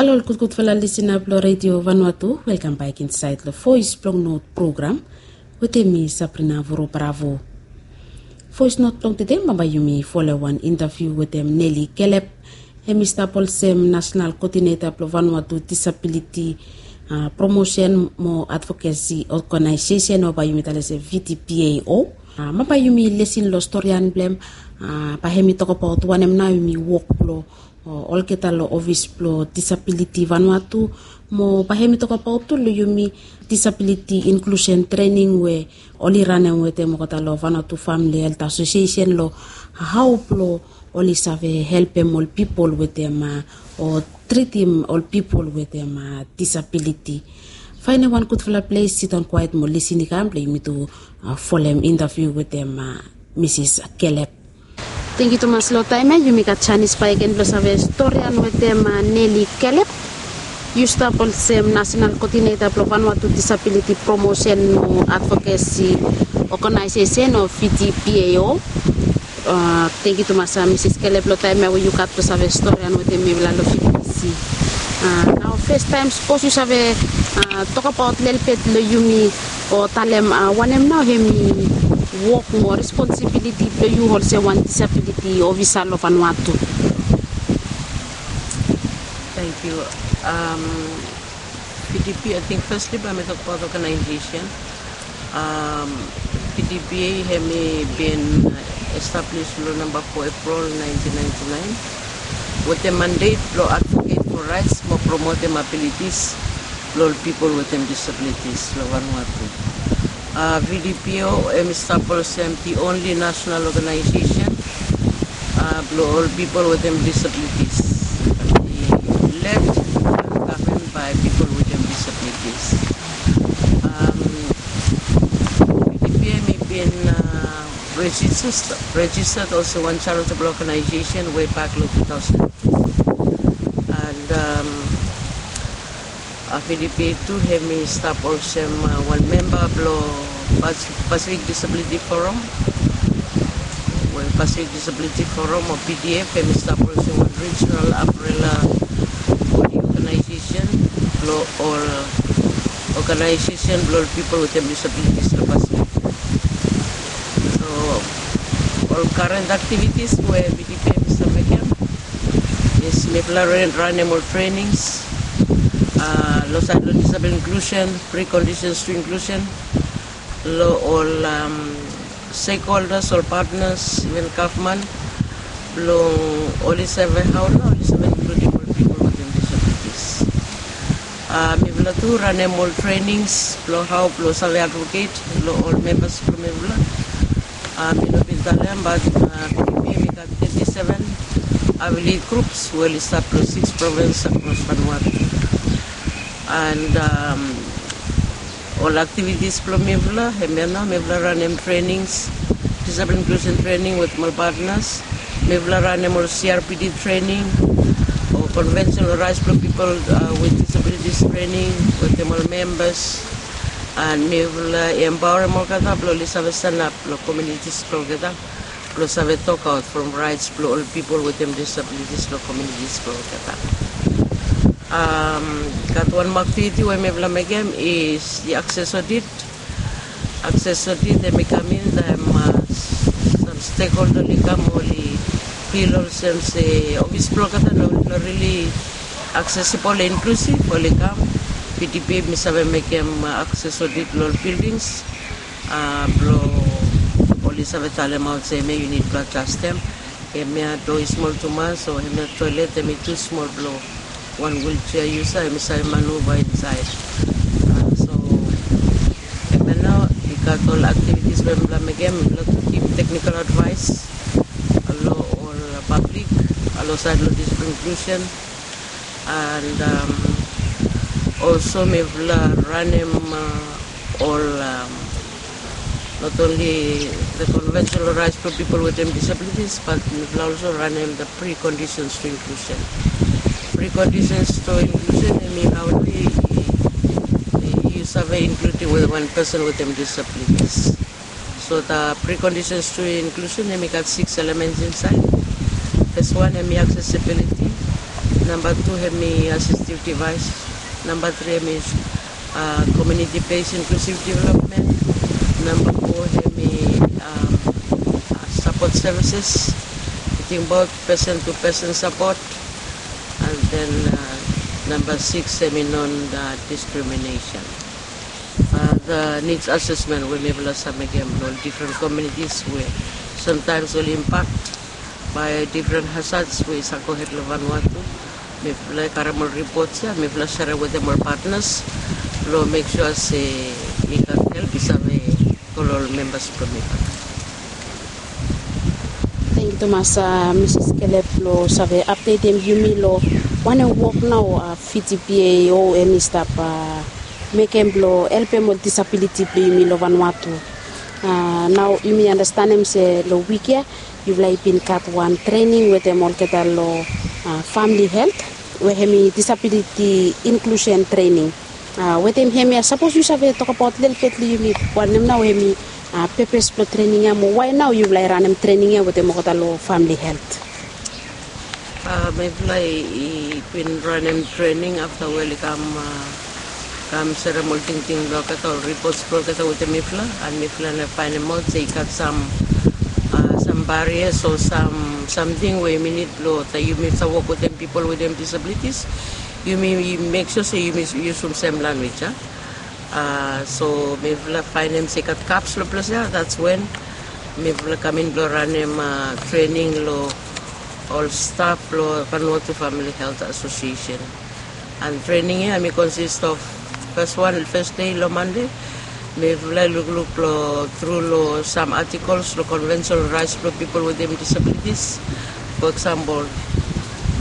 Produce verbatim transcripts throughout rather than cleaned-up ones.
Halo ol gudgudfala lisina blong Redio Vanuatu, welkam bak insaed long Voes blong Not program wetem mi, Sabrina Vuru Bravo. Voes Not blong tede, bambae yumi folem wan intaviu wetem Nelly Kelep. Hem i stap olsem Nasenal Koodineta blong Vanuatu Disabiliti Promosen mo Advokesi Oganaesesen, o bae yumi talem se V D P A O. Bambae yumi lisin long storian blong hem. Bae hem i tokbaot wanem nao hem i wok blong olgeta long ofis blong disabiliti Vanuatu, mo bae hem i tokbaot tu long yumi disabiliti inklusen trening we oli ranem wetem olgeta long Vanuatu Famili Helt Asosiesen long hao blong oli save helpem ol pipol wetem o tritim ol pipol wetem disabiliti. Faenem wan gudfala ples, sidaon kwaet mo lisin i kam blong yumi tu folem intaviu wetem Misis Kelep. Tangkiu tumas long taem ya. Yumi gat janis bakegen blong save storian wetem Nelly Kelep. Yu stap olsem Nasenal Koodineta blong Vanuatu Disabiliti Promosen mo Advokesi Oganaesesen o V D P A O. Tangkiu tumas Misis Kelep long taem ya we yu gat blong save storian wetem mifala long V B C. Nao fes taem, sapos yu save tokbaot lelebet long yumi o talem wanem nao hem i wok mo responsibiliti blong yu olsem wan disabiliti ofisa long Vanuatu. Tangkiu. V D P, ating fasli bae mi tokbaot oganaesesen. V D P A hem i bin establis long namba fo Epril naentin naenti naen wetem mandet blong advoket fo raets mo promotem abilitis blong ol pipol wetem disabilitis long Vanuatu. V D P A O hem i stap olsem the only national organization blong ol pipol wetem disabilitis. I led and govern bae pipol wetem disabilitis. V D P A O hem i bin registered olsem wan charitable organization wei bak long two thousand two. And V D P A O tu hem i stap olsem wan memba blong Pacific Disability Forum, we Pacific Disability Forum o P D F hem i stap olsem wan regional umbrella body organization blong ol organization blong ol pipol wetem disabilities long Pacific. So ol current activities we V D P A O hem i stap mekem is mifala ranem ol trainings long saed long disability inclusion, preconditions to inclusion, long ol stakeholders, ol partners, even gavman, blong oli save hao nao oli save inkludim ol pipol wetem disabilities. Mifala tu ranem ol trainings blong hao blong save advoket long ol membas blong mifala. Mi no bin talem, bat V D P A O hem i gat teti seven affiliate groups we oli stap long six provins across Vanuatu. And ol activities blong mifala hemia nao, mifala ranem trainings, disability inclusion training wetem ol partners. Mifala ranem ol C R P D training o conventional rights blong pipol with disabilities training wetem ol membas. And mifala empowerem olgeta blong oli save stanap long communities blong olgeta blong save tokaot from rights blong ol pipol wetem disabilities long communities blong olgeta. Gat wan moa activity we mifala mekem is the access audit. Access audit hem i kam in taem sam stakeholder oli kam, oli fil olsem se ofis blong olgeta nao oli no really accessible, inclusive, oli kam. V D P A O hem i save mekem access audit long ol buildings blong oli save talemaot se hemia yu nid blong adjastem, hemia doa i smol tumas, o hemia toelet hem i tu smol blong wan wheelchair user hem i save manuva insaed. So hemia nao i gat ol activities we mifala mekem. Mifala tu givim technical advice long ol public long saed long disability inclusion. And also mifala ranem ol not only the conventional rights blong pipol wetem disabilities, bat mifala also ranem the preconditions to inclusion. Preconditions to inclusion hem i hao nao yu save inkludim wan person wetem disabilities. So the preconditions to inclusion hem i gat six elements insaed. Fes wan hem i accessibility. Namba tu hemi assistive device. Namba tri hemi komuniti bes inklusiv development. Namba fo hemi sapot sevises, tingbaot pesen tu pesen sapot. And then namba siks hemi non diskriminesen. The nids asesmen we mifala save mekem long ol difren komunitis we samtaems oli impak bae difren hazats we i save gohed long Vanuatu. Mifala i karem ol ripots ya, mifala serem wetem ol patnas blong mek sua se i gat help i save go long ol membas blong mifala. Tangkiu tumas, Misis Kelep, long save apdetem yumi long wanem wok nao Fiji B A O hemi stap mekem blong helpem ol disabiliti blong yumi long Vanuatu. Nao yumi anastenem se long wik ya yufala i bin gat wan trening wetem olgeta long famili helt we hemi disabiliti inklusen trening. Wetem hemia sapos yu save tokbaot lelebet long yumi wanem nao hemi pepes blong trening ya mo wae nao yufala i ranem trening ya wetem olgeta long famili helt. Mifala i bin ranem trening afta we oli kam kam serem ol tingting blong olgeta, ol ripots blong olgeta wetem mifala, and mifala nao faenemaot se i gat sam sam barias o sam samting we yumi nid blong taem yumi save wok wetem pipol wetem disabilitis, yumi mek sua se yumi yusum sem lanwis ya. So mifala faenem se i gat gaps long ples ya, that's when mifala kam in blong ranem trening long ol staf blong Vanuatu Famili Helt Asosiesen. And trening ya hemi konsist of fes wan, fes dei long Mande, mifala i lukluk long tru long sam atikels long konvensen raets blong pipol wetem disabilitis. For example,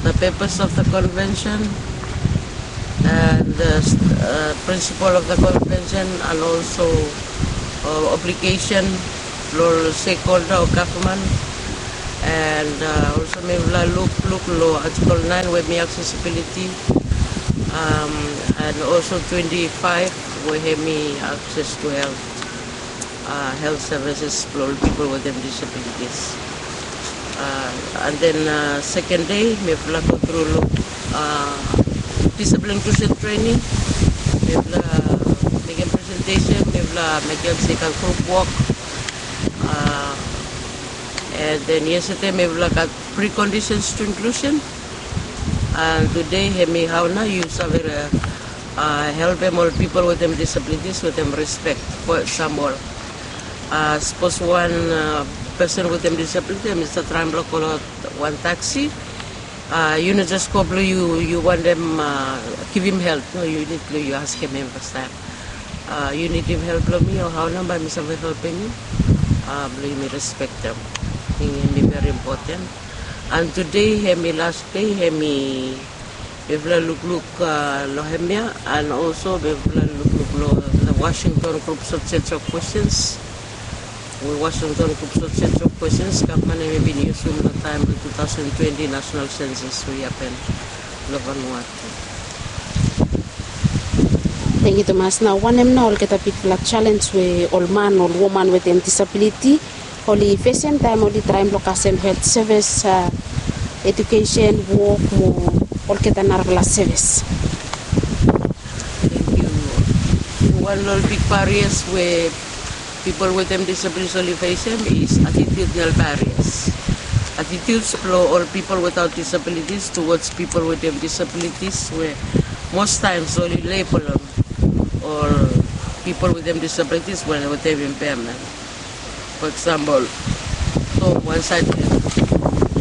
the purpose of the convention and the principle of the convention and also obligation long stakeholder o gavman. And olso mifala lukluk long atikel naen we hemi aksesibiliti, and olso twenti faef we hemi akses tu helt, helt sevises blong ol pipol wetem disabilitis. And then seken dei mifala go tru long disabiliti inklusen trening. Mifala mekem presentesen, mifala mekem se i gat grup wok. And then yestede mifala gat prekondisens tu inklusen. And tude hemi hao nao yu save helpem ol pipol wetem disabilitis wetem rispek. For example, sapos wan pesen wetem disabiliti hemi save traem blong kol aot wan taksi, yu no jes go blong yu wantem givim help. No, yu nid blong yu askem hem fastaem, yu nidim help blong mi o hao nao bae mi save helpem yu? Blong yumi respektem. Ting hemi veri impoten. And tude hemi las dei, hemi mifala lukluk long hemia, and olso mifala lukluk long the Washington Group Sot Sensor Questions. We Washington Group Sot Sensor Questions gavman hemi bin yusum long taem blong tu taosen twenti nasonal sensas we i hapen long Vanuatu. Tangkiu tumas. Nao wanem nao olgeta bigfala jalenj we ol man, ol woman wetem disabiliti oli fesem taem oli traem blong kasem helt sevis, ejukesen, wok mo olgeta narafala sevis? Tangkiu. Wan long ol big barias we pipol wetem disabilitis oli fesem is atitudinal barias. Atitudes blong ol pipol wetaot disabilitis tuwods pipol wetem disabilitis we mostaems oli lebelem ol pipol wetem disabilitis wetem impaemen. For example, tom wan saed leg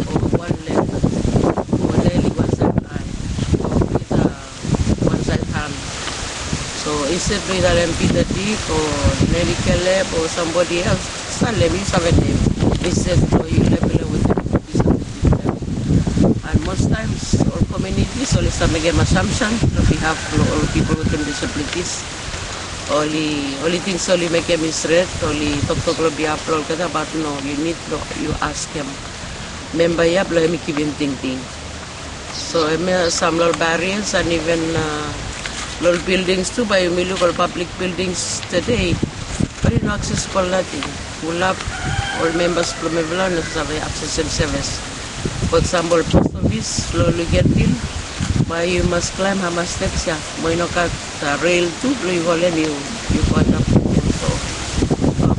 o wan leg o neli wan saed ae o Pita wan saed han. So insted blong yu talem Pita Dik o Neli Kelep o sambodi els, talem yu save nem. Insted blong yu lebelem wetem disabiliti. And most times ol komunitis oli save mekem assumption long bihaf blong ol pipol wetem disabilitis. Oli, oli ting se oli mekem i stret, oli toktok long bihaf blong olgeta, bat no, yu nid blong yu askem memba ya blong hemi givim tingting. So hemia sam long ol barias and iven long ol bildings tu, bae yumi luk ol pablik bildings tede oli no aksesibol nating. Fulap ol membas blong mifala no save aksesem sevis. For example, pos ofis long Luganville, Bae yu mas klaem hamas steps ya, mo i no gat rel tu blong yu holem yu, yu go antap. So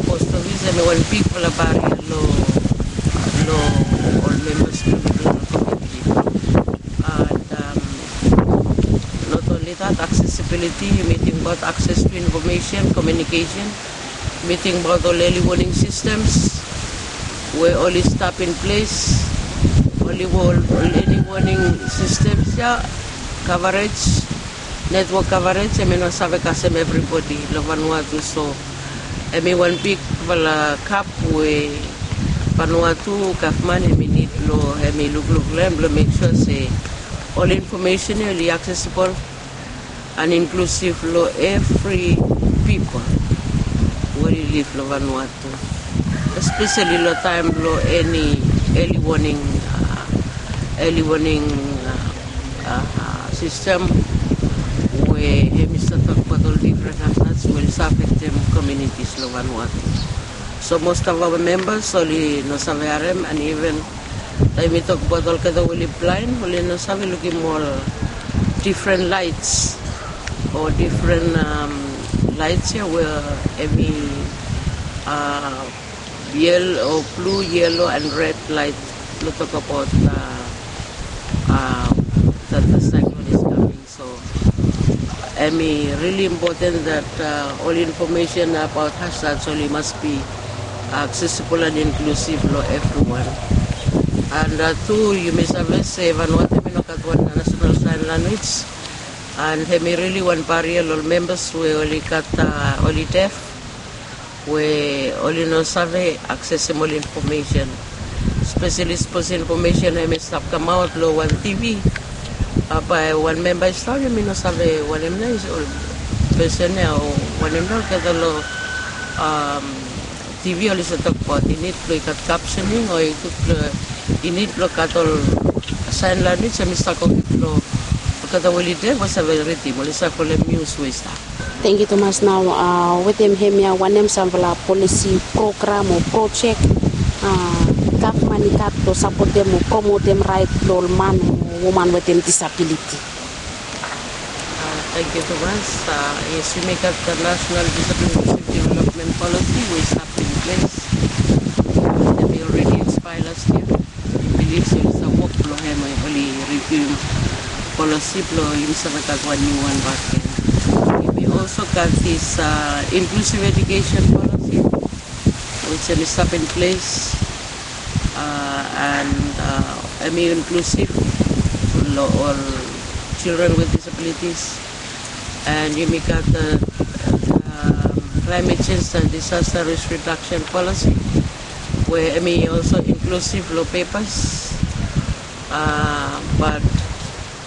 post ofis hemi wan bigfala baria long, long ol membas blong mifala komuniti. And not only that, accessibility, yumi tingbaot access to information, communication, yumi tingbaot ol early warning systems we oli stap in ples, oli ol early warning systems ya, coverage, network coverage, hemi no save kasem evribodi long Vanuatu. So hemi wan bigfala gap we Vanuatu gavman hemi nid blong hemi lukluk long hem blong mek sua se ol infomesen ya oli accessible and inclusive long evri pipol we oli liv long Vanuatu, espeseli long taem blong eni early warning, early warning sistem we hemi save tokbaot ol difren hazards we oli save afektem komunitis long Vanuatu. So most of our members oli no save harem, and even taem yumi tokbaot olgeta we oli blaen, oli no save lukim ol difren laets o difren laets ya we hemi yel o blu, yelo and red laet blong tokbaot that the cyclone is coming. So hemi rili impoten that ol infomesen abaot hazards oli mas bi accessible and inclusive long evriwan. And tu yumi save se Vanuatu hemi no gat wan nasenal saen lanwis, and hemi rili wan baria long ol membas we oli gat, oli def, we oli no save aksesem ol infomesen, espeseli sapos infomesen hemi stap kamaot long wan T V. Bae wan memba i stap, yumi no save wanem nao ol pesen ya o wanem nao olgeta long T V oli save tokbaot i nid blong i gat captioning o i nid blong gat ol saen lanwis hemi stap go blong olgeta we oli def we save ridim, oli save folem nius we i stap. Tangkiu tumas. Nao wetem hemia, wanem samfala polisi, program o projek gavman i gat blong sapotem o promotem raet blong ol man o woman wetem disabiliti? Tangkiu tumas. Yes, yumi gat the National Disability Development Policy we i stap in ples. Hemi already expire last year. Mi bilif se oli stap wok blong hem, oli riviu polisi blong yumi save gat wan niu wan bakegen. Yumi also gat this inclusive education policy which hemi stap in ples, and hemi inclusive long ol children with disabilities. And yumi gat the climate change and disaster risk reduction policy we hemi also inclusive long pepas. But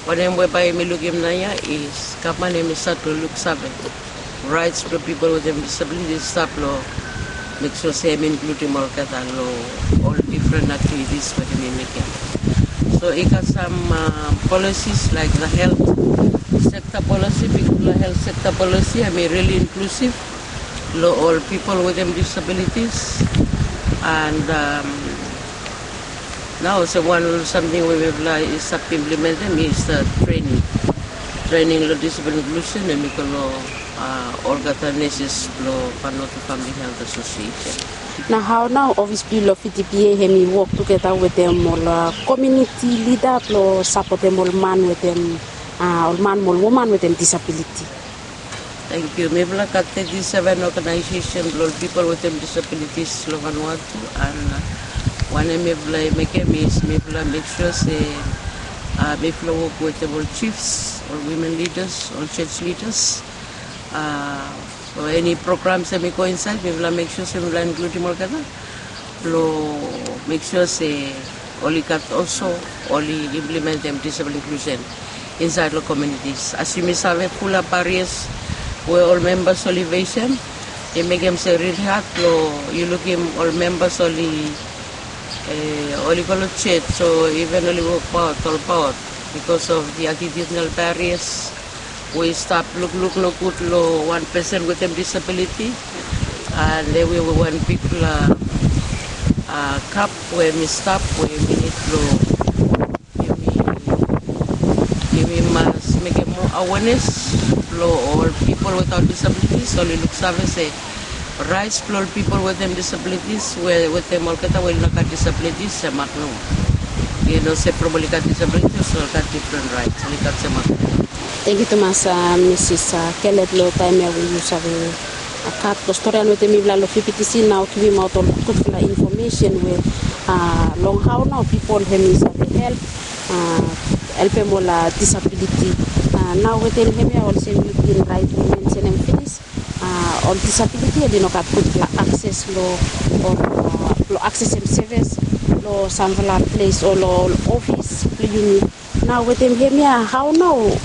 wanem we bae yumi lukim naoia is gavman hemi stat long luksave raets blong pipol wetem disabiliti, stap long mek sua se hemi inkludim olgeta long ol difren aktivitis we hemi mekem. So i gat sam polisis laik the health sector policy, bigfala health sector policy hemi rili inklusiv long ol pipol wetem disabilities. And nao olsem wan samting we mifala i stap implimentem is the training. Training long disability inklusen hemi go long olgeta neses blong Vanuatu Family Health Association. Na hao nao ofis blong yu long V T P A hemi wok tugeta wetem ol komuniti lida blong sapotem ol man wetem, ol man mo ol woman wetem disabiliti? Tangkiu. Mifala gat teti seven oganaesesen blong ol pipol wetem disabilitis long Vanuatu, and wanem mifala i mekem is mifala mek sua se mifala wok wetem ol jifs, ol wimen lidas, ol jos lidas. So eni programs hemi go insaed, mifala mek sua se mifala inkludim olgeta blong mek sua se oli gat olso, oli implimentem disabiliti inklusen insaed long komunitis. As yumi save, fulap barias we ol membas oli fesem i mekem se rili had blong yu lukim ol membas oli, oli go long jos o iven oli wokbaot olbaot bikos of the attitudinal barias we i stap lukluk nogud long wan pesen wetem disabiliti. And hemi wan bigfala gap we hemi stap we hemi nid blong yumi, Awareness blong ol pipol without disabilities, oli luksave se rights blong ol pipol wetem disabilities, we wetem olgeta we oli no gat disabilities, semak nomo. Yu no se from oli gat disabilities, oli gat different rights, oli gat semak nomo. Tangkiu tumas, Misis Kelep, long taem ya we yu save gat long storian wetem mifala long V P T C, nao givimaot ol gudfala infomesen we long hao nao pipol hemi save help, helpem ol disabiliti. Nao wetem hemia, olsem yu bin raet mensenem finis, ol disabiliti oli no gat gudfala akses long, long aksesem sevis long samfala ples o long ol ofis blong yumi. Nao wetem hemia, hao nao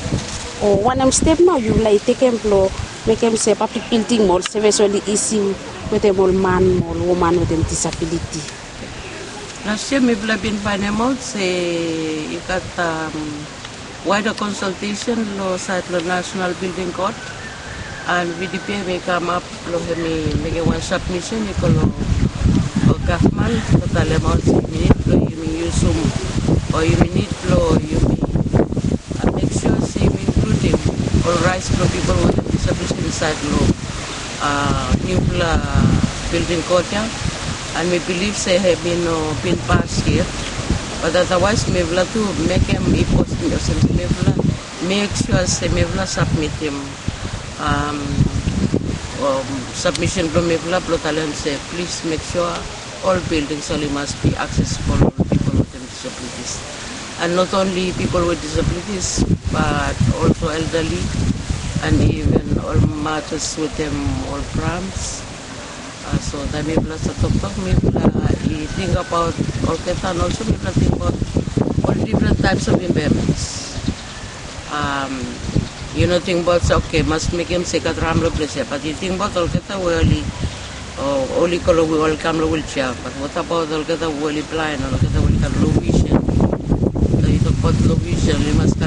o wanem step nao yufala i tekem blong mekem se pablik bilding mo ol sevis oli isi wetem ol man mo ol woman wetem disabiliti? Las yia mifala bin faenemaot se i gat waeda konsaltesen long saed long Nasenal Bilding Kod, and V D P hemi kamap blong hemi mekem wan sabmisen i go long gavman blong talemaot se yumi nid blong yumi yusum o yumi nid blong yumi mek sua se yumi inkludim ol raets blong pipol wetem disabiliti insaed long niufala bilding kod ya. And mi bilif se hemi no bin pas yet, bat adawaes mifala tu mekem i posting olsem se mifala mek sua se mifala sabmitim sabmisen blong mifala blong talem se plis mek sua ol bildings oli mas bi aksesibol long pipol wetem disabilities. And not only pipol with disabilities, but also elderly and even ol matas wetem ol prams. So taem mifala stap toktok, mifala i tingbaot olgeta, and also mifala tingbaot ol difren taeps of impairments. Yu no tingbaot se oke, mas mekem se i gat ram long ples ya, bat yu tingbaot olgeta we oli, oli go long, oli kam long wiljea. Bat what about olgeta we oli blaen, olgeta we oli gat low vision? So yu tokbaot low vision, oli mas gat